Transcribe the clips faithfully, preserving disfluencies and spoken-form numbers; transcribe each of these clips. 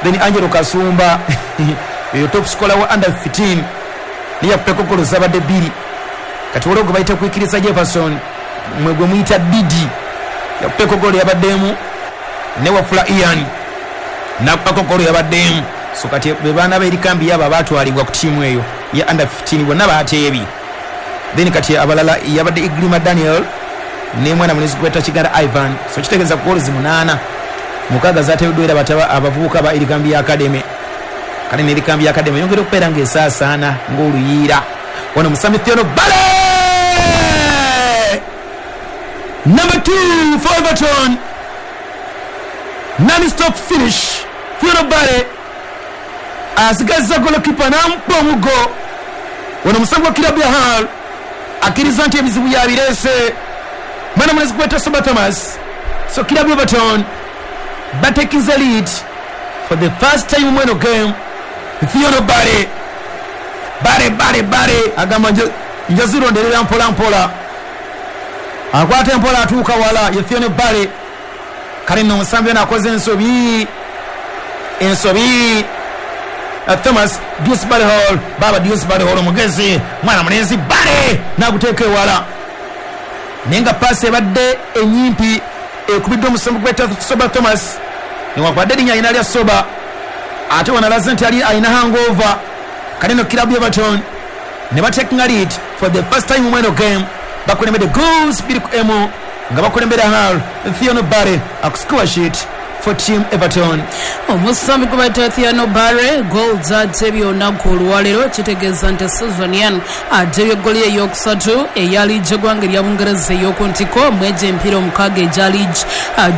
Then Angelo Kasumba eyo top scorer wa under fifteen niye yakubeko golo zabadde bbiri. Kati waliwo gwe bayita Kwikiriza Jefferson, mwe gwe muyita Didi, yakubeko golo yabaddemu, ne Wafula Ian nakubako golo yabaddemu. So kati be baana b'erikambi yabo abaatwalibwa ku ttiimu eyo ya under fifteen bonna baateebye. Then kati abalala yabadde Iglima Daniel ne mwana mulenzi gweta Kiganda Ivan. So kitegeeza ku golo munaana, mukaaga zaateebeddwa era bataba abavubuka ba Erikambi Academy. Kale ne Erikambi Academy yongera okubeera ng'esaasaana ng'oluyiira. Wano Musambi Theodore Bale, number two for Everton, non-stop finish. Theodore Bale asigazza golokipa n'amukuba omuggo. Wano Musambi wa kirabu ya Hull akkiriza nti ebizibu yabireese mwana mulenzi gweta Soba Thomas. So kirabu Everton batekinze lead for the first time mweno game. Theodore Bale Bale Bale Bale agamba nja zironderera mpola mpola, akwata empola atuuka wala ye Theodore Bale. Kale nno omusambi ono akoze ensobi ensobi Thomas Dewsbury Hall, baba Dewsbury Hall omugezi mwana mulenzi Bale n'aguteeka ewala, naye nga paasi ebadde enyimpi ekubiddwa omusambi gweta Soba Thomas, newankubadde erinnya alina lya Soba ate wanalaze nti ali alina hangover. Kale no kirabu Everton ne batekinga lead for the first time mweno game, bakulembedde goals bbiri ku emu nga bakulembera Hull. Theodore Bale akuscore sheet for team Everton. Omusambi gwe bayita Theodore Bale goals atebye olunaku olwaleero, kitegeeza nti season eno atebye ggooli eyokusatu eya liigi eggwanga erya Bungereza ey'oku ntiko mwegyo emipiira omukaaga egya liigi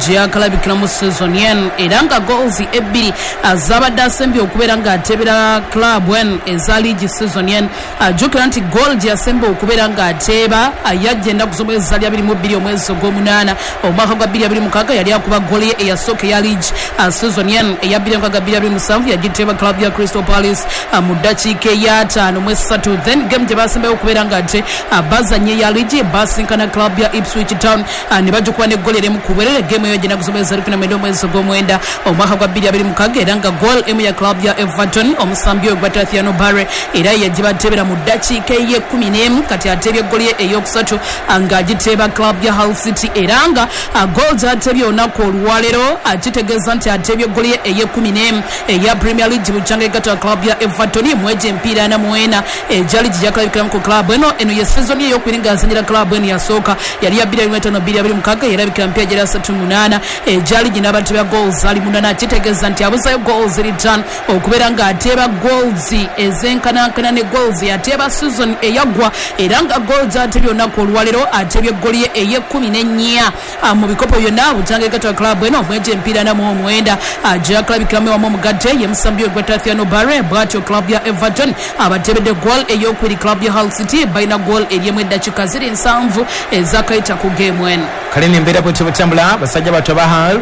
gye yakalabikiramu season eno, era nga goals ebbiri zabadde asembye okubeera ng'atebera club eno eza liigi season eno. Jjukira nti goal gye yasemba okubeera ng'ateeba yajja ennaku z'omwezi zaali abiri mu bbiri omwezi ogw'omunaana omwaka gwa bbiri abiri mukaaga, yali akuba goal ye eyasooka eya liigi season eno eya bbiri mukaaga bbiri abiri musanvu yagiteeba club ya Crystal Palace mu ddakiika ey'ataano mu essatu. Then game gye basembayo okubeera ng'ate bazannye eya liigi basinkana club ya Ipswich Town ne bagikuba n'eggoli erimu ku bwerere. Game eyo gy'ennaku z'omwezi zali kumi na mwenda omwezi ogw'omwenda omwaka gwa bbiri abiri mukaaga, era nga goal emu ya club ya Everton omusambi oyo gwata Theodore Bale era yagibateebera mu ddakiika ey'ekkumi n'emu. Kati ateebye eggoli ye ey'okusatu ng'agiteeba club ya Hull City, era nga goal gy'ateebye olunaku olwaleero kitegeeza nti ateebye eggoli ye ey'ekkumi n'emu eya Premier League bukyanga egatta club ya Everton mwegyo emipiira ana mu ena egya liigi gyakalabikiramu ku club eno. Eno ye season ye ey'okubiri ng'azannyira club eno, yasooka yali ya bbiri abiri mu etaano bbiri abiri mukaaga yerabikira emipiira gyali asatu munaana egya liigi n'abateebya goals ali munaana, kitegeeza nti abuzayo goals return okubeera ng'ateeba goals ezenkanankana ne goals yateeba season eyaggwa, era nga goals ateebye olunaku olwaleero ateebye eggoli ye ey'ekkumi n'ennya mu bikopo byonna bukyanga egatta club eno mwegyo emipiira ana mu omwenda gyakalabikiramu wamu omugatte ye musambi oyo gweta Theodore Bale. Bw'atyo club ya Everton abateebedde goal ey'okubiri club ya Hull City balina goal eryemu eddakiika ziri nsanvu ezakayita ku game eno. Kale n'embeera bwetyo bwetambula, basajja bato aba Hull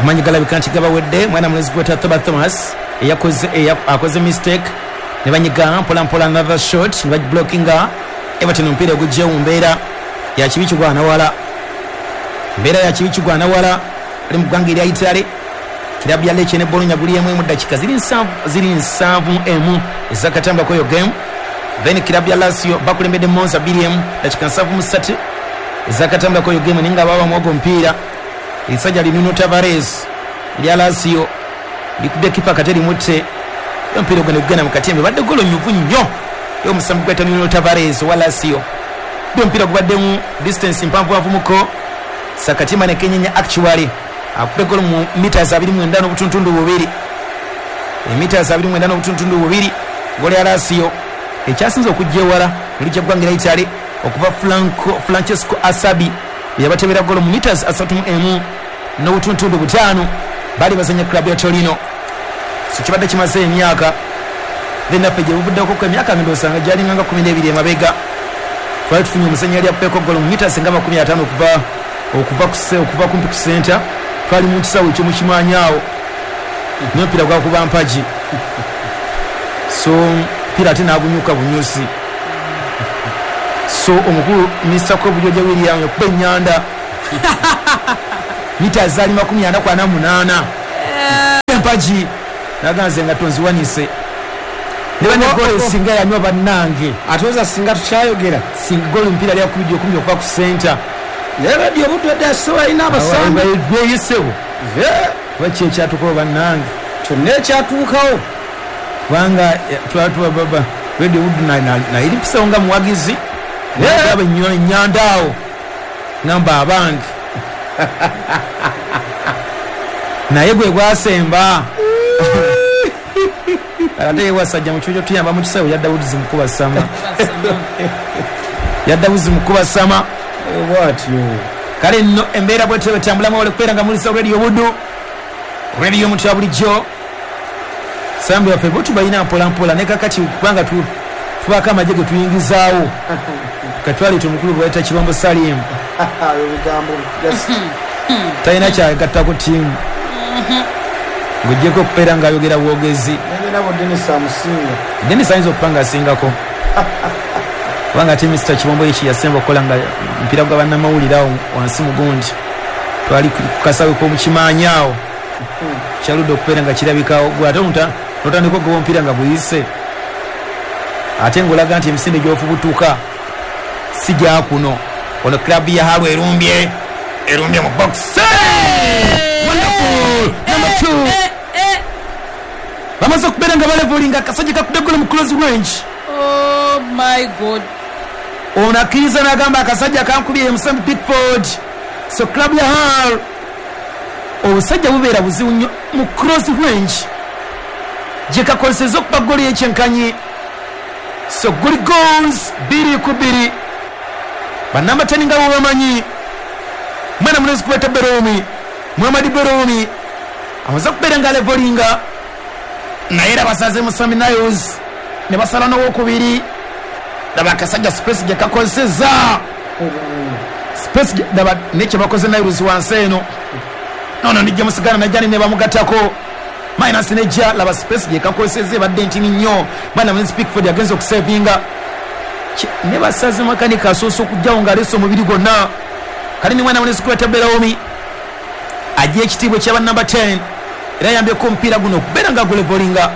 amaanyi galabika nti gabawedde. Mwana mulenzi gweta Thomas Thomas eyakoze akoze mistake ne banyiga mpola mpola another shot ne bagiblockinga. Everton omupiira ogujjewo mu mbeera ya kibi kigwana wala, mbeera ya kibi kigwana wala ali mu ggwanga erya Italy. Kirabu ya Lecce ne Bologna guli emu mu ddakiika ziri nsanvu ziri nsanvu emu ezakatambulako eyo game. Then kirabu ya Lazio bakulembedde Monza bbiri emu ddakiika nsanvu mu ssatu ezakatambulako eyo game, naye nga baba ogwo omupiira erisajja li Nuno Tavares erya Lazio likubye kipa kate limutte omupiira ogwo ne gugenda mu katembe. Badde golo nyuvu nnyo y'omusambi gweta Nuno Tavares wa Lazio, omupiira gubaddemu distance mpanvuanvumuko Sakatima ne kenyenya actually akube golo mu meters abiri mu mwenda n'obutuntundu bubiri, meters abiri mu mwenda n'obutuntundu bubiri golo ya Lazio ekyasinze okujja ewala elijja ggwanga erya Italy okuva Franco Francesco Asabi yabatebera golo mu meters asatu mu emu n'obutuntundu butaano. Bali bazanya club ya Torino, so kibadde kimaze emyaka then naffe gye buvuddeko ku emyaka ndowooza gyalinga nga kkumi n'ebiri emabega twali tufunye omusajja yali akubeko golo mu meters nga makumi ataano okuva okuva ku okuva kumpi ku center. Twali mu kisaawe ekyo mukimanyi awo n'omupiira gwakuba mpagi, so omupiira ate n'agunyuka bunyusi. So omukulu Mister Kobujoja William yakuba ennyanda mita zaali makumi ana ku ana munaana empagi. George naganze nga tonziwanise ne bane gole singa yanywa bannange atoza singa tukyayogera singa gole mpira lya kubidyo kumyo kwa ku center lero dio butu edda sowa ina abasambi beyisewo eh wache kyatuko bannange kyonna ekyatuukawo kubanga twatuwa baba Radio Buddu na na ilipisa nga muwagizi yaba nyandaawo namba abange naye gwe gwasemba ate wasajja mu kijo tuyamba mu kisawo ya Daudi zimukuba sama ya Daudi zimukuba sama bwatyo kale nno embeera bwetyo betambulamu wale kubeera nga mulisa Radio Buddu Radio Mutu bulijjo sambi waffe bo tubalina mpola mpola ne kakati kubanga tu tubaka amagye ge tuyingizaawo katwale omukulu bwayita Kibombo Salim ebigambo talina kyagattako ttiimu ng'oggyeko okubeera ng'ayogera bwogezi nabo Dennis amusinga Dennis ayinza okuba nga asingako kubanga ate Mister Kibombo eki yasemba okukola nga mpira gwa bannamawulire awo wansi mugundi twali ku kasawe k'omukimaanyi awo kyaludde okubeera nga kirabikawo gwe ate omuntu notandika okugoba omupiira nga guyise ate ng'olaga nti emisinde gy'ofubutuka si gyakuno. Ono club ya Haru erumbye erumbye mu box. Wonderful number two bamaze okubeera nga balevolinga akasajja kakudde golo mu close range. Oh my god, ono akkiriza n'agamba akasajja kankubye Musambi Pickford. So club ya Haru obusajja bubeera buzibu nnyo mu cross range gye kakozesezza okuba ggoolo y'ekyenkanyi. So goli goals bbiri ku bbiri banamba ten nga bo bamanyi mwana mulenzi kubeta Beromi Muhammad Beromi amaze okubeera nga alevolinga naye era basaze Musambi Niles ne basala n'owokubiri. Laba akasajja space gye kakozesezza space laba ne kye bakoze Niles wansi eno nono nijja musigana najjani ne bamugattako minus nejja. Laba space gye kakozesezza ebadde ntini nnyo mwana mulenzi Pickford agenze okusevinga ne basaze makanika asoose okujjawo ng'aleese omubiri gwonna. Kale ni mwana mulenzi kubeta Beromi ajja ekitiibwa ekyaba namba ten era ayambyeko omupiira guno okubeera nga gulevolinga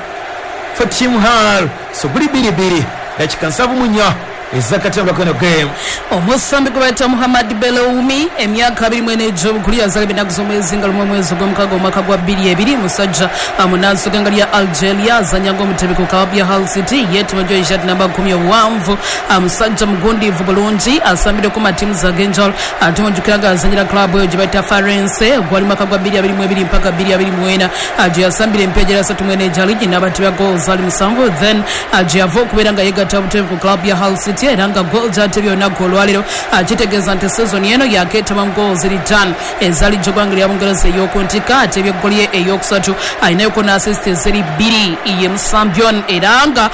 for team Hull. So guli bbiri bbiri dakika nsanvu mu nnya ezakatamba kano game. Omusambi gwe bayita Muhammad Beloumi emyaka abiri mu ena egy'obukulu yazaalibwa ennaku z'omwezi nga lumu omwezi ogw'omukaaga omwaka gwa bbiri ebiri musajja munansi w'eggwanga lya Algeria azannya ng'omutebi ku club ya Hull City yeetuma gy'oyishati namba kkumi obuwanvu musajja mugundiivu bulungi asambireko mu ttiimu z'ag'enjawulo ate mujjukira nga azannyira club eyo gye bayita Farense gwali mwaka gwa bbiri abiri mu ebiri mpaka bbiri abiri mu ena gye yasambira emipiira gyera asatu mu ena egya liigi n'abatebya goals ali musanvu then gye yava okubeera nga yeegatta butebi ku club ya Hull City era nga goal gy'atebye olunaku olwaleero kitegeeza nti season eno yakeetaba mu goals ziri ttaano eza liigi y'eggwanga lya Bungereza ey'oku ntikko atebye eggoli ye eyokusatu alinayoko n'assist eziri bbiri ye Musambion era nga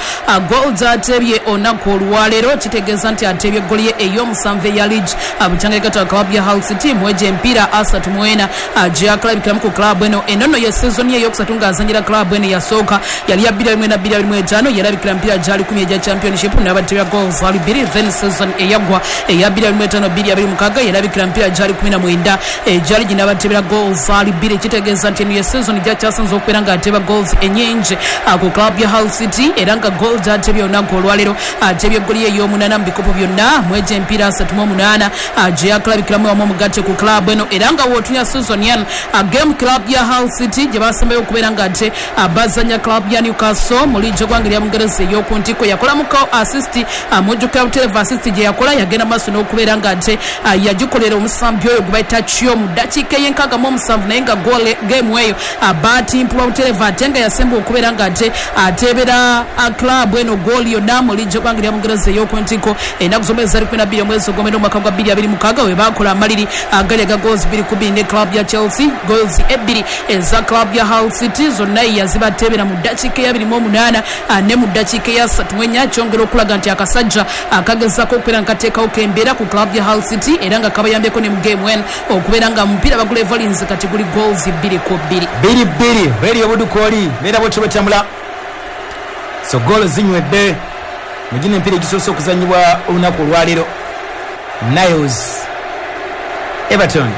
goal gy'atebye olunaku olwaleero kitegeeza nti atebye eggoli ye ey'omusanvu eya liigi bukyanga yegatta club ya Hull City mwegyo emipiira asatu mu ena gye yakalabikiramu ku club eno eno nno ye season ye eyokusatu ng'azannyira club eno yasooka yali ya bbiri abiri mu ena bbiri abiri mu etaano yalabikira emipiira gyali kumi egya championship n'abatebya goals ali bbiri then season eyaggwa eya bbiri abiri mu etaano bbiri abiri mukaaga yalabikira emipiira gyali kumi na mwenda egyali ginabatebera goals ali bbiri kitegeeza nti eno ye season gyakyasinze okubeera ng'ateba goals ennyingi ku club ya Hull City era nga goal gyatebye olunaku olwaleero atebye eggoli ye ey'omunaana mu bikopo byonna mwegyo emipiira asatu mu omunaana gye yakalabikiramu wamu omugatte ku club eno era nga wootunya season eno game club ya Hull City gye basembayo okubeera ng'ate bazannya club ya Newcastle mu liigi y'eggwanga lya Bungereza ey'oku ntikko yakolamuko assist mujjukira butereevu assist gye yakola yagenda maaso n'okubeera ng'ate yagikolera omusambi oyo gwe bayita Chio mu ddakiika ey'enkaaga mu omusanvu naye nga goal game eyo baatimpulwa butereevu ate nga yasemba okubeera ng'ate ateebera club eno goal yonna mu liigi y'eggwanga lya Bungereza ey'oku ntikko ennaku z'omwezi zali kumi na bbiri omwezi ogw'omwenda omwaka gwa bbiri abiri mukaaga we baakola amaliri agali aga goals bbiri ku bbiri ne club ya Chelsea goals ebbiri eza club ya Hull City zonna yazibateebera mu ddakiika ey'abiri mu omunaana ne mu ddakiika ey'asatu mu ennya kyongera okulaga nti akasajja akagezaako okubeera nga kateekawo kembeera ku club ya Hull City era nga kabayambyeko ne mu game one okubeera nga mupiira bagula Evolins kati guli goals bbiri ku bbiri bbiri bbiri Radio Buddu kwoli mbeera bwetyo bwetambula. So goal zinywedde mu gino emipiira egisoose okuzannyibwa olunaku olwaleero. Niles Everton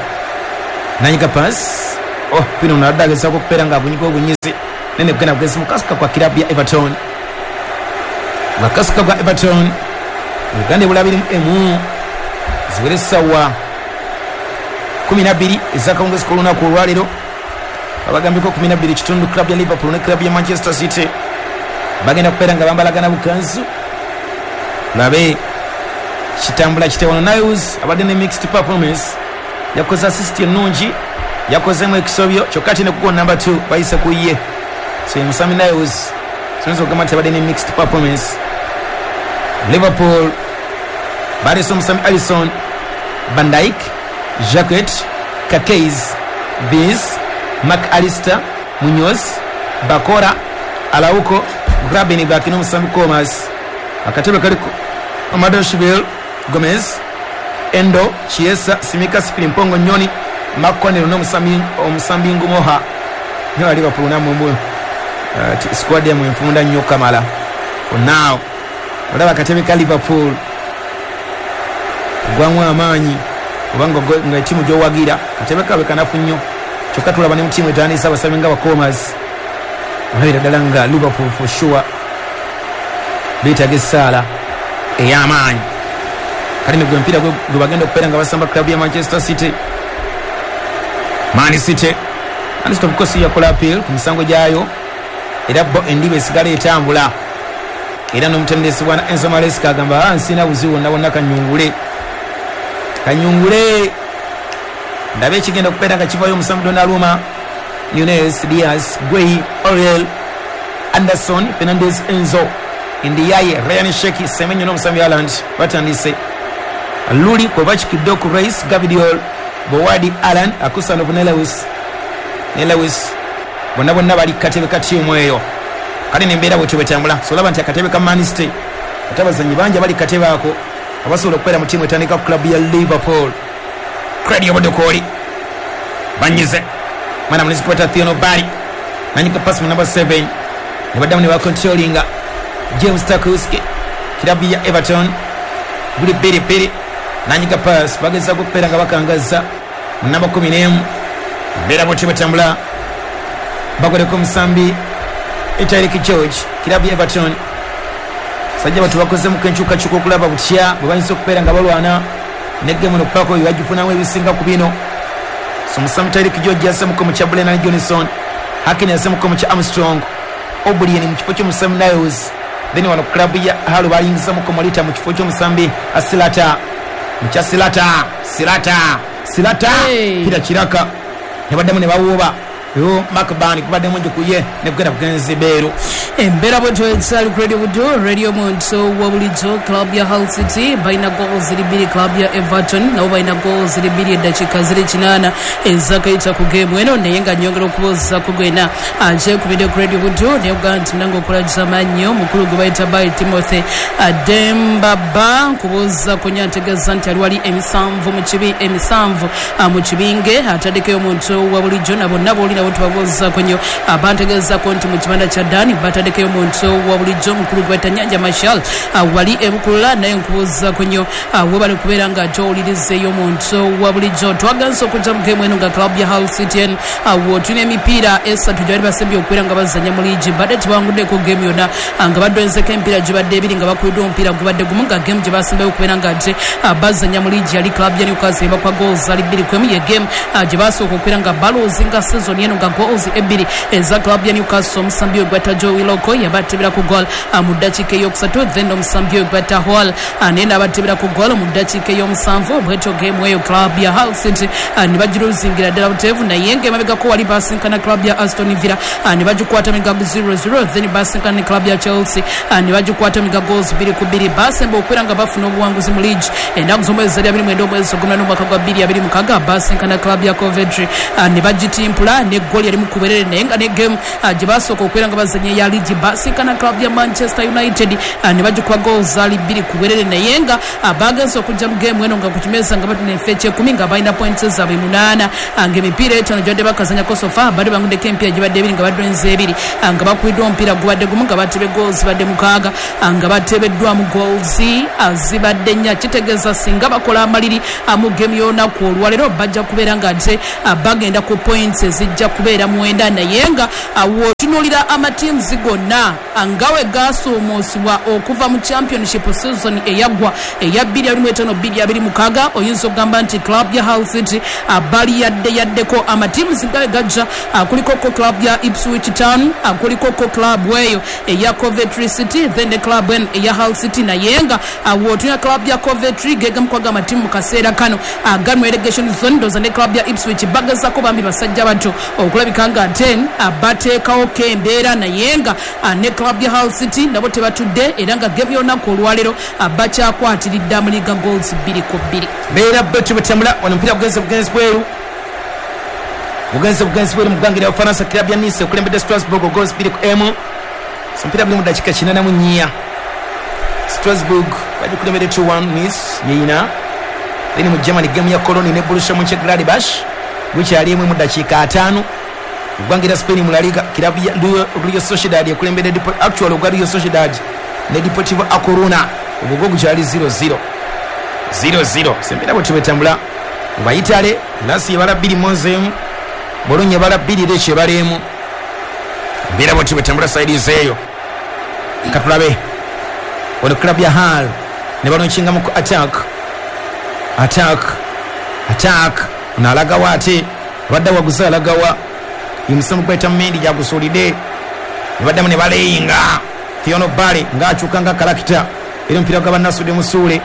nanyiga pass oh pino ono adde agezaako okubeera ng'agunyiga obunyizi Nene kugenda kugezi mukasuka kwa kilabu ya Everton. Makasuka kwa Everton. Uganda ebula emu ziwere sawa kumi na bbiri ezakawungezi k'olunaku olwaleero. Abagambiko kumi na bbiri kitundu club ya Liverpool ne club ya Manchester City bagenda kubeera nga bambalagana bukanzu. Labe kitambula kitewano. Niles abadde ne mixed performance, yakoze assist ennungi, yakozemu ekisobyo kyokka ate ne kugo number two bayise ku ye. So Musami Niles sonzo okugamba nti abadde ne mixed performance. Liverpool baleese omusami Alisson, Van Dijk, Jacquet, Kakes, Vince, Mac Allister, Munoz, Bakora, Araujo, Grabenberg n'omusambi Comas. Akatebe kaliko Amadou Gomez, Endo, Chiesa, Simika, Siklimpongo, Nyoni, Makonelo n'omusambi omusambi Ngumoha. Niyo Liverpool namwe mwe uh, squad yamwe enfunda nnyo kamala. For now olaba akatebe ka Liverpool gwamu amaanyi obanga nga timu gy'owagira katebe kabe kanafu nnyo, kyokka tulaba ne mu timu etandise abasambi nga Bakomas. Olabira ddala nga Liverpool for sure beetaaga essaala ey'amaanyi. Kale gwe emipiira gwe bagenda okubeera nga basamba club ya Manchester City. Man City Man City of course yakola appeal ku misango gyayo, era bo endiba esigala etambula. Era n'omutendesi bwana Enzo Maresca agamba nsina buzibu wonna wonna kanyungule kanyungule ndabe ekigenda okubeera nga kivayo omusambi Donnarumma, Nunes, Diaz, Guehi, Oriel, Anderson, Fernandes, Enzo, Ndiaye, Ryan Sheki, Semenyo n'omusambi Haaland batandise. Luli, Kovacic, Doku, Rice, Gavidiol, Bowadi, Alan, Akusanov ne Lewis ne Lewis bonna bonna bali katebe ka ttiimu eyo. Kale nembeera bwetyo bwetambula. So olaba nti akatebe ka Man City ate abazannyi bangi abali katebe ako abasobola okubeera mu ttiimu etandika ku club ya Liverpool. Craig Obodokooli banyize mwana mulenzi kwata Theono Barry nanyika pass mu number seven ne baddamu ne bakontrolinga James Tarkowski kilabu ya Everton guli bbiri bbiri nanyika pass bagezaako okubeera nga bakangaza mu namba kumi n'emu. Mbeera bwetyo bwetambula bakoleko omusambi Tyreek George kilabu ya Everton. Sajja batu bakozemuko enkyukakyuka okulaba butya bwe bayinza okubeera nga balwana ne gemu eno okubaako bye bagifunamu ebisinga ku bino. So musambi Tyreek George yasemuko mu kya Brennan Johnson, Hakin yasemuko mu kya Armstrong, Obrien mu kifo ky'omusambi Niles. Then wano club ya Hull bayingizamuko Morita mu kifo ky'omusambi Asilata mu kya Silata Silata Silata Hey. Pira kiraka ne baddamu ne bawuuba yo Macban kubaddemu njukuye ne kugenda kugenzi beeru. Embeera bwetyo ekyali ku Radio Budo, Radio Muntu wa bulijjo. Club ya Hull City balina goal ziri bbiri, club ya Everton nabo balina goal ziri bbiri eddakiika ziri kinaana ezakayita ku geemu eno, naye nga nnyongera okubuuza ku gwena akyekubidde ku Radio Budo naye okugamba nti nange okulagiza mannyo mukulu gwe bayita Bayi Timothy Adembaba nkubuuza ku nnyo antegeeza nti ali wali emisanvu mu kibi emisanvu ah, mu kibinge ataddekeyo omuntu wa bulijjo na bonna booli nabo tubabuuzaako nnyo. Bantegeezaako nti mu kibanda kya Dani bataddeko omuntu wa bulijjo mukulu gwe bayita Nyanja Marshal wali ebukulula, naye nkubuuzaako nnyo webale kubeera nga towulirizeeyo omuntu wa bulijjo. Twagenze okujja mu geemu eno nga club ya Hull City en awo tulina emipiira esatu gyebali basembye okubeera nga bazannya mu liigi, badde tebawanguddeko geemu yonna nga badwenzeko emipiira gibadde ebiri nga bakubiddwa omupiira gubadde gumu, nga geemu gye basembayo okubeera nga ate bazannya mu liigi yali club ya Newcastle ebakwa goals ali bbiri ku emu, ye geemu gye basooka okubeera nga baluzinga season eno nga goals ebbiri eza club ya Newcastle. Omusambi oyo gwata Joe Willock yabatebera ku goal mu ddakiika eyokusatu, then omusambi oyo gwata Hall naye n'abatebera ku goal mu ddakiika ey'omusanvu. Bwetyo geemu eyo club ya Hull City ne bagiruzingira ddala buteevu, naye ng'emabegako wali basinkana club ya Aston Villa ne bagikwata migago zero zero, then basinkana ne club ya Chelsea ne bagikwata migago goals bbiri ku bbiri. Basemba okubeera nga bafuna obuwanguzi mu liigi ennaku z'omwezi zali abiri mwenda omwezi ogw'omunaana omwaka gwa bbiri abiri mukaaga, basinkana club ya Coventry ne bagitimpula ne goal yali mu kuberere, naye nga ne game gye basooka okubeera nga bazannya eya liigi basinkana club ya Manchester United ne bagikuba goals zaali bbiri ku bwerere, naye nga bagenze okujja mu game eno nga ku kimeeza nga batuna enfo ekyekumi nga balina points zaabwe munaana, ng'emipiira etaano gyabadde bakazannyako so far badde banguddeko emipiira gibadde ebiri nga badwenze ebiri, nga bakubiddwa omupiira gubadde gumu, nga batebe goals badde mukaaga, nga batebeddwamu goals zibadde nnya. Kitegeeza singa bakola amaliri mu game y'olunaku olwaleero bajja kubeera nga ate bagenda ku points ezijja bajja kubeera mwenda naye nga w'otunuulira amatiimuzi gonna nga we gasuumuusibwa okuva mu championship season eyaggwa eya bbiri abiri mu etaano bbiri abiri mukaaga oyinza okugamba nti club ya Hull City bali yadde yaddeko amatiimuzi nga we gajja kuliko ko club ya Ipswich Town, kuliko ko club eyo eya Coventry City, then the club eya Hull City naye nga w'otunuulira club ya Coventry gegamu kwaga amatiimu mu kaseera kano agamu relegation zone ndoza ne club ya Ipswich bagezako bambi basajja bato okulabika nga ten bateekawo kembeera naye nga ne club ya Hull City nabo tebatudde era nga game y'olunaku olwaleero bakyakwatiridde mu liga goals bbiri ku bbiri. Mbeera bwetu bwetambula wano omupiira gugenze bugenzi bweru bugenze bugenzi bweru mu ggwanga lya Bufalansa. Club ya Nice ekulembedde Strasbourg goals bbiri ku emu. So omupiira guli mu ddakiika kinaana mu nnya. Strasbourg bagikulembedde two one, Nice yeyina. Then mu Germany game ya Cologne ne Borussia Mönchengladbach gukyali emu mu ddakiika ataano. Eggwanga lya Spain mu La Liga club ya Real Sociedad ekulembedde actual ogwa Real Sociedad ne Deportivo A Coruna ogwo gukyali zero zero zero zero. Sembera bwe tubetambula mu Italy Lazio ebala bbiri Monza emu, Bologna ebala bbiri Lecce ebala emu. Mbeera bwe tubetambula side zeeyo katulabe ono club ya Hull ne balonkingamu ku attack attack attack nalagawa ate badda waguza alagawa imusomo gweta Mendy jagusulide ne baddamu ne baleyinga Thierno Barry ng'akyuka nga kalakita era omupiira gwa Bannasudde Musuule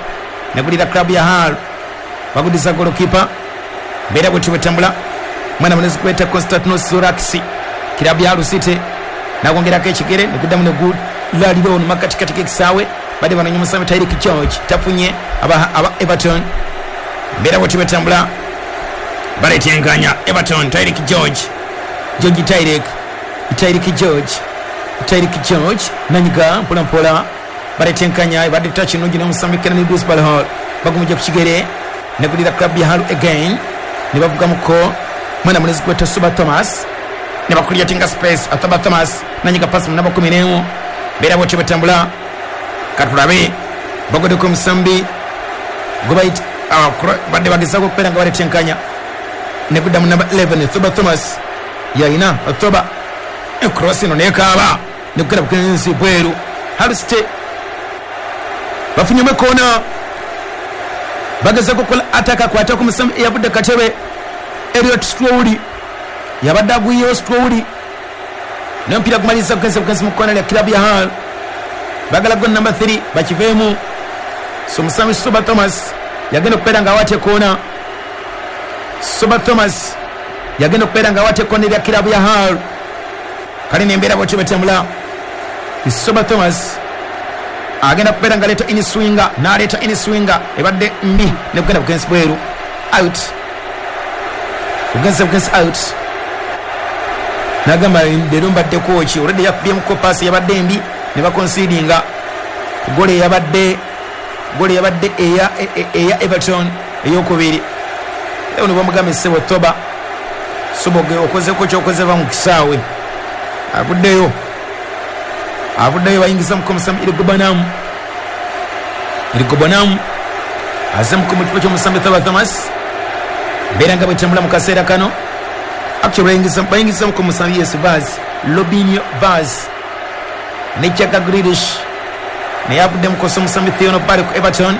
negulira club ya Hull bagudiza goalkeeper. Mbeera bwe tubetambula mwana munezi gweta Konstantinos Sourakas club ya Hull City nakwongerako ekigere neguddamu negulalira ono makatikati k'ekisaawe badde banonye omusambi Tyreek George tafunye aba, aba Everton. Mbeera bwe tubetambula baletenkanya Everton Tyreek George George Tyreek Tyreek George Tyreek George nanyiga mpola mpola baletenkanya badde touch nungi n'omusambi Kenny Dewsbury-Hall bagumujja ku kigere negulira club ya Hull again ne bavugamuko mwana munezi gweta Suba Thomas ne bakuliatinga space Ataba Thomas nanyiga pass mu namba kumi n'emu. Mbeera bwe tubetambula katulabe bagodeko omusambi gwe badde bagezaako okubeera nga baletenkanya negudda mu namba eleven Thuba Thomas yayina Thuba cross eno nekaaba nekugenda bukenzi bweru. Hull City bafunyemu ekoona bagezaako okukola ataka akwata ku musambi eyavudde katebe Elliot Strowley yabadde agwiyewo Strowley naye omupiira gumaliriza bugenzi bugenzi mu kkoona lya club ya Hull bagala gol number three bakiveemu. So omusambi Suba Thomas yagenda okubeera nga awaata ekoona. Suba Thomas yagenda okubeera nga awaata ekoona erya club ya Hull kale nembeera bwetyo betambula. Suba Thomas agenda kubeera nga aleeta iniswinga n'aleeta iniswinga ebadde mbi nekugenda bugenzi bweru out bugenzi bugenzi out nagamba leero mbaddeko ki olwedde yakubyemuko paasi yabadde mbi ne bakonsidinga gole yabadde gole yabadde eya eya Everton eyokubiri. Leo ne bamugamba essebo Toba Soboge okozeko kyokoze ba mu kisaawe avuddeyo avuddeyo bayingiza mu musambi Irigobanamu Irigobanamu aze mu kifo ky'omusambi Toba Thomas mbeera nga bwetambula mu kaseera kano actually bayingiza bayingiza mu musambi Yes Vaz Robinho Vaz ne Jack Grealish naye avudde mu kosa omusambi Thierno Barry ku Everton.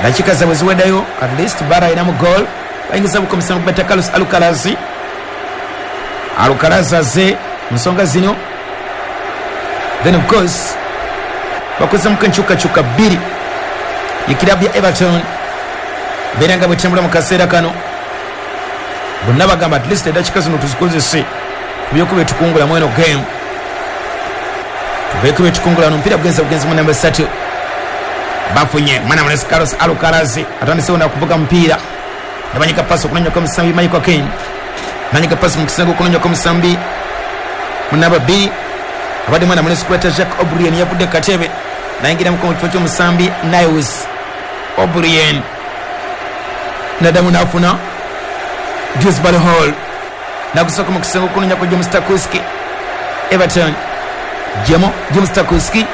Dakika zaabwe ziweddeyo at least Barry alina mu goal bayingiza mu musambi Beta Carlos Alcaraz Alcaraz aze mu nsonga zino then of course bakozemu enkyukakyuka bbiri ye club ya Everton mbeera nga bwetambula mu kaseera kano bonna bagamba at least eddakiika zino tuzikozese kubyokuba etukungula mu eno game tubeeko byetukungula omupiira gugenze bugenzi mu namba ssatu bafunye mwana munesi Carlos Alcaraz atandisewo nakuvuga mupiira nabanyika pasi okunonyako omusambi Michael Keane nanyika pasi mu kisenge okunonyako omusambi mu namba bbiri abadde mwana munesi kweta Jacques O'Brien yavudde katebe nayingira mu kifo ky'omusambi Niles O'Brien naddamu n'afuna Dewsbury-Hall nagusooka mu kisenge okunonyako James Tarkowski Everton Jemo James Tarkowski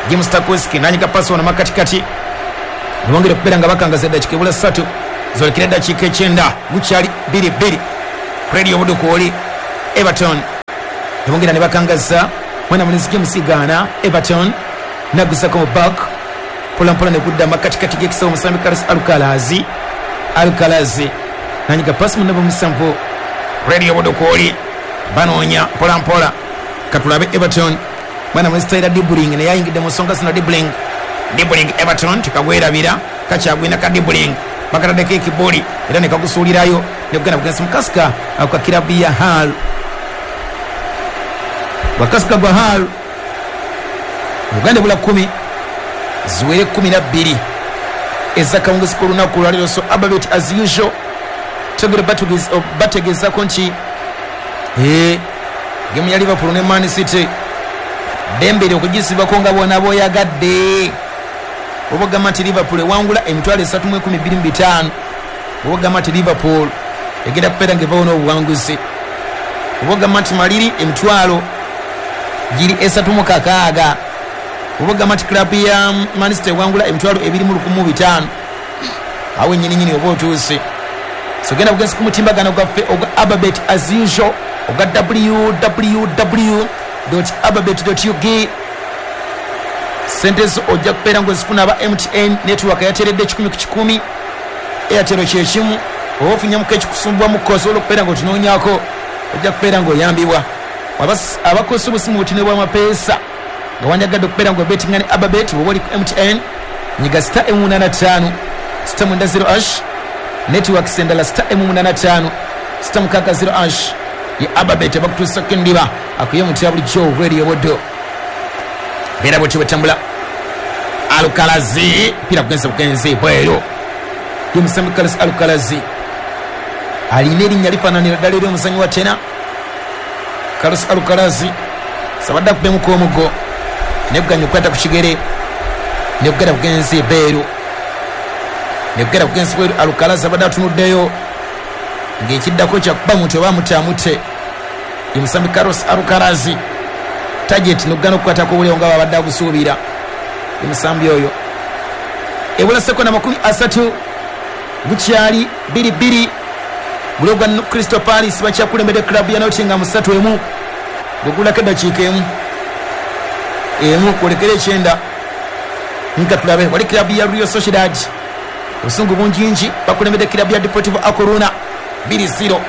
James Tarkowski nanyika pasi wano makatikati nebongera okubeera nga bakangaza eddakiika ebula ssatu zolekera eddakiika ekyenda gukyali bbiri bbiri Radio Budo kwoli Everton ebongera ne bakangaza mwana mulinzi James Gana Everton nagusako back pola mpola ne kudda makatikati gekisa omusambi Carlos Alcaraz Alcaraz nanyiga pass munabo musambo Radio Budo kwoli banoonya mpola mpola katulabe Everton mwana mulinzi Tyler Dibling ne yayingidde mu nsonga zino Dibling Dibling Everton tikagwerabira kakyagwina ka Dibling bakatadeko ekibuli era ne kagusuulirayo ne kugenda bugenzi mu kasika kwa kirabu ya Hull wakasika gwa Hull Uganda bula kumi ziwere kumi na bbiri ezakawungezi k'olunaku olwaleero. So Ababet as usual tegere bategeezako nti ee gemu ya Liverpool ne Man City dembere okugisibako nga bwona bw'oyagadde. Oba ogamba nti Liverpool ewangula emitwalo esatu mu enkumi bbiri mu bitaano, oba ogamba nti Liverpool egenda kubeera ng'evaawo n'obuwanguzi, oba ogamba nti Maliri emitwalo giri esatu mu kakaaga, oba ogamba nti club ya Man City ewangula emitwalo ebiri mu lukumi mu bitaano, awo ennyininyini oba otuuse. So genda bugenzi ku mutimbagano gwaffe ogwa Ababet as usual ogwa w w w dot ababet dot u g. Sente zo ojja kubeera ng'ozifuna aba M T N network yateeredde kikumi ku kikumi, Airtel kyekimu, oba ofunyemuko ekikusumbwamuko osobola okubeera ng'otunoonyaako ojja kubeera ng'oyambibwa. Abakozesa obusimu butini bw'amapeesa nga wandyagadde okubeera ng'obetinga ne Ababet bw'oba oli ku M T N nyiga star emu munaana ttaano star mwenda zero ash, networks endala star emu munaana ttaano star mukaaga zero ash ye Ababet abakutuusako endiba akuye mutya bulijjo Radio Budo. Beera bwetyo bwetambula. Alcaraz pira kugenza bugenzi bweru ye musambi Carlos Alcaraz alina erinnya lifaananira ddala eri omuzannyi wa tena Carlos Alcaraz sabadde akubemuko omugo neguganya okukwata ku kigere negugenda bugenzi beeru negugenda bugenzi bweru. Alcaraz abadde atunuddeyo ng'ekiddako kyakuba muntu oba amutaamute ye musambi Carlos Alcaraz target nokugana okukwatako obulewo nga babadde agusuubira omusambi oyo. Ebula sekonda makumi asatu gukyali bbiri bbiri guli ogwa Crystal Palace bakyakulembedde club ya Nottingham ssatu emu gwegulako eddakiika emu emu kwolekera ekyenda nga tulabe wali club ya Real Sociedad obusungu bungingi bakulembedde club ya Deportivo A Coruna bbiri zero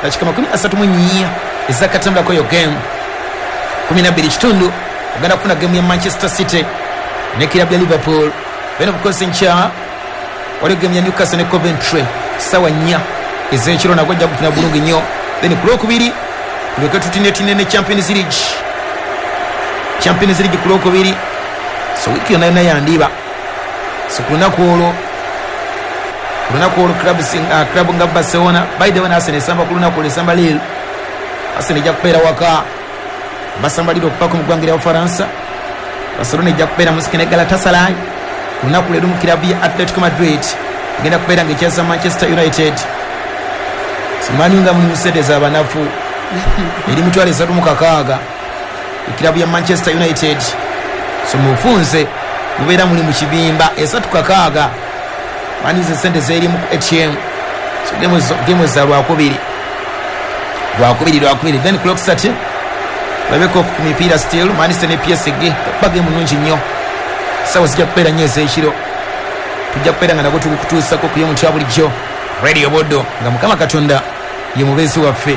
dakiika makumi asatu mu nnya ezakatambulako yo game kumi na bbiri kitundu ogenda kufuna game ya Manchester City ne club ya Liverpool. Then of course nkya waliwo game ya Newcastle ne Coventry sawa nnya ez'ekiro nagwo ojja kufuna bulungi nnyo. Then ku lwokubiri tuleke tutinetine ne Champions League Champions League ku lwokubiri, so wiiki yonna yonna yandiba. So ku lunaku olwo ku lunaku olwo club uh, club nga Barcelona by the way Arsenal esamba ku lunaku olwo esamba Lille. Arsenal ejja kubeera waka basamba Lille okupaka mu ggwanga lya Bufalansa. Barcelona ejja kubeera mu nsike ne Galatasaray ku lunaku leero mu kilabu ya Atletico Madrid egenda kubeera ng'ekyaza Manchester United. Simanyi nga muli mu sente z'abanafu eri mitwalo esatu mu kakaaga ekilabu ya Manchester United. So mufunze mubeera muli mu kibimba esatu kakaaga manize sente z'erimu ku A T M. So gemu za lwakubiri lwakubiri lwakubiri then ku lwokusatu labeko ku mipiira still Manchester ne P S G bagemu nnungi nnyo sawa zijja kubeera nnyo ez'ekiro tujja kubeera nga nagwo tukutuusako ku y'omuntu bulijjo Radio Budo nga Mukama Katonda ye mubeezi waffe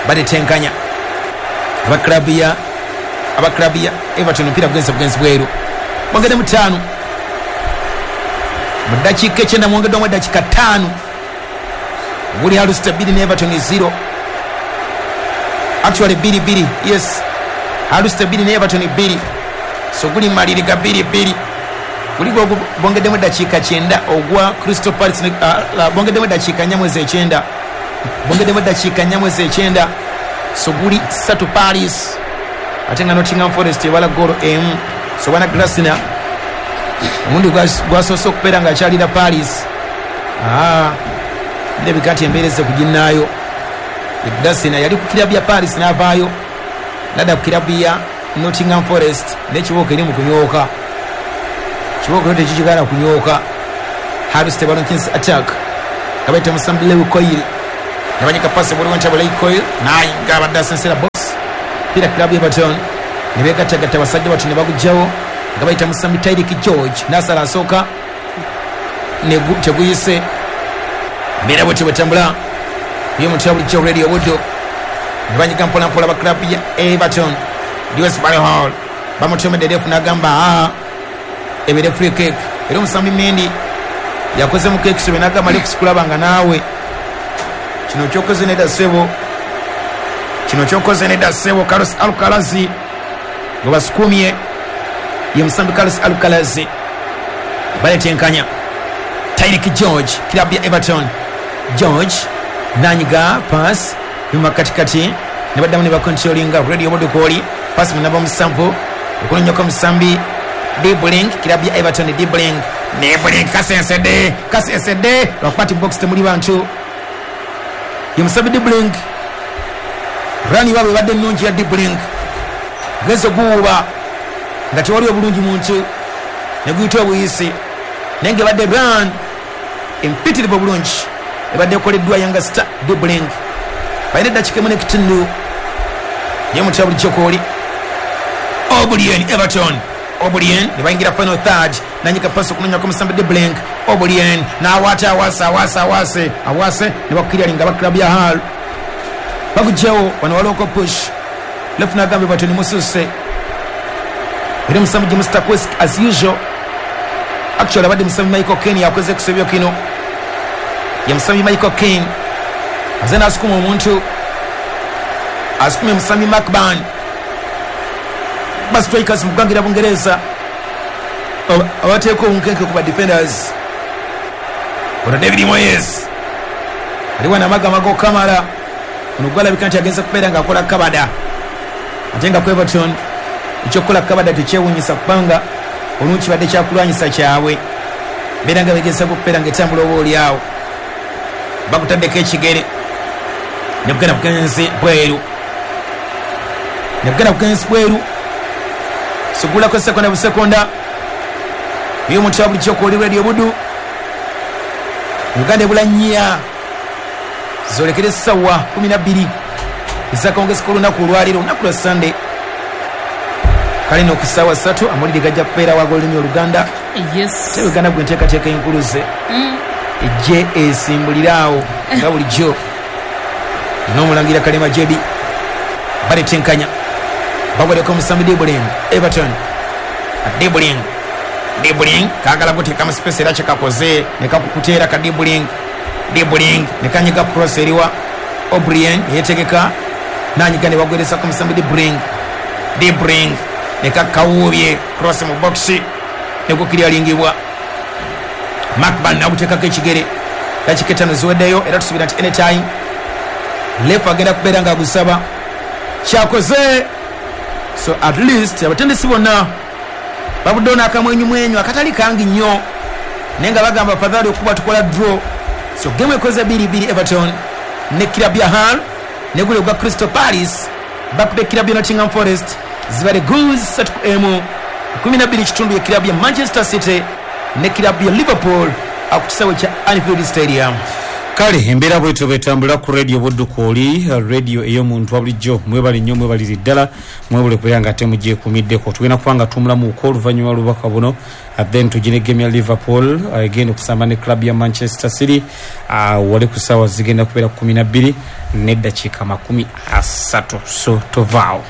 batetenkanya aba club ya aba club ya Everton omupiira gugenze bugenzi bweru mwongedde mu ttaano mu ddakiika ekyenda mwongeddwamu eddakiika ttaano guli Hull City bbiri ne Everton zero actually bbiri bbiri yes Hull City bbiri ne Everton bbiri so guli maliriga bbiri bbiri guli bongeddemu eddakiika kyenda ogwa Crystal Palace uh, bongeddemu eddakiika nnya mwezi ekyenda bongeddemu eddakiika nnya mwezi ekyenda so guli ssatu Palace ate nga Nottingham Forest ebala goolo emu. So bwana Glasner omundi gwasoose okubeera ng'akyalira Palace ah birabika nti embeera ezze kuginnaayo. Glasner yali ku kirabu ya Palace n'avaayo nadda ku kirabu ya Nottingham Forest n'ekibooko eri mu kunyooka kibooko tekikigaana kunyooka. Hull City balonkinsi attack kabaita musambi Lewi Koyiri Nabanyika pasi buli wentabula ikoil nayinga abadde asensera box pira club Everton ne begattagatta basajja batu ne bagugjawo nga bayita musambi Tyrick George nasala asooka teguyise mbeera bwetyo bwetambula yo mutya bulijjo Radio Buddo ne banyiga mpola mpola ba club ya Everton. Dewsbury Hall bamutomedde refu n'agamba aa ebere free kick era omusambi Mendy yakoze mu kekisi bwe n'agamba refu sikulabanga naawe kino kyokoze nedda ssebo kino kyokoze nedda ssebo. Carlos Alcaraz gwe basukumye ye musambi Carlos Alcaraz baletenkanya Tyrick George club ya Everton. George nanyiga pass nyuma katikati ne baddamu ne bakontrolinga Radio Buddo kwoli pass munaba musampu okunonyako musambi Dibling club ya Everton. Dibling Dibling kasensede kasensede lwakuba ti box temuli bantu ye musambi Dibling rani waabwe ebadde ennungi ya Dibling genze guwuba nga tewali obulungi muntu ne guyita obuyisi naye nga ebadde run empitirivu obulungi ebadde ekoleddwa Yanga Star Dibling. Balina eddakiika emu n'ekitundu ye mutya bulijjo kwoli Oblien Everton Oblien ne bayingira final third nanyika pasi okunonyako musambi Dibling Oblien n'awaata awase awase awase awase ne bakukiryalinga ba club ya Hull bagugjawo wano waliwoko push left n'agamba Everton mususe era musambi James Tarkowski as usual actually abadde musambi Michael Keane yakoze kusobyo kino ye musambi Michael Keane aze n'asukuma omuntu asukumye musambi Macban ba strikers mu ggwanga lya Bungereza abateeka obunkenke ku ba defenders. Ono David Moyes aliwo n'amagama g'okamala ono gwalabika nti agenza kubeera ng'akola kabada ate nga ku Everton ekyokukola kabada tekyewuunyisa kubanga olumu kibadde kyakulwanyisa kyabwe beera nga begezaako okubeera ng'etambula oba oliawo bakutaddeko ekigere ne kugenda bugenzi bweru ne kugenda bugenzi bweru sugulako sekonda busekonda yo omuntu wa bulijjo kwoli Radio Buddo. Uganda ebula nnya zolekere essaawa kumi na bbiri ezakawungezi k'olunaku olwaleero olunaku lwa Sunday kale no ku ssaawa ssatu amawulire gajja kubeera wag'olulimi Oluganda. Yes. Te Uganda gwe enteekateeka enkuluze ejje esimbulire awo nga bulijjo n'omulangira Kalema Jebi baletenkanya bagwereko omusambi Dibling Everton Dibling Dibling kaagala guteeka mu space era kyekakoze ne kakukuteera ka Dibling Dibling ne kanyiga cross eriwa O'Brien yetegeka nanyiga ne bagweresa ku musambi Dibling Dibling ne kakawuubye cross mu box ne gukiryalingibwa Macban naguteekako ekigere dakiika ttaano ziweddeyo era tusuubira nti anytime lefu agenda kubeera ng'agusaba kyakoze. So at least abatendesi bonna babuddewo n'akamwenyumwenyu akatali kangi nnyo naye nga bagamba afadhali okuba tukola draw. So game ekoze bbiri bbiri Everton ne club ya Hull ne gule gwa Crystal Palace bakube club ya Nottingham Forest zibale goals ssatu ku emu kumi na bbiri kitundu ya club ya Manchester City ne club ya Liverpool ku kisaawe kya Anfield Stadium. Kale embeera bwetyo bwetambula ku Radio Buddo kwoli radio ey'omuntu wa bulijjo mwebale nnyo mwebalire ddala mwebale kubeera nga ate mugyekuumiddeko. Tugenda kuba nga tumulamuuko oluvannyuma lw'obubaka buno then tugine game ya Liverpool egenda okusamba ne club ya Manchester City uh, wali ku ssaawa zigenda kubeera kumi na bbiri n'eddakiika makumi asatu so tovaawo.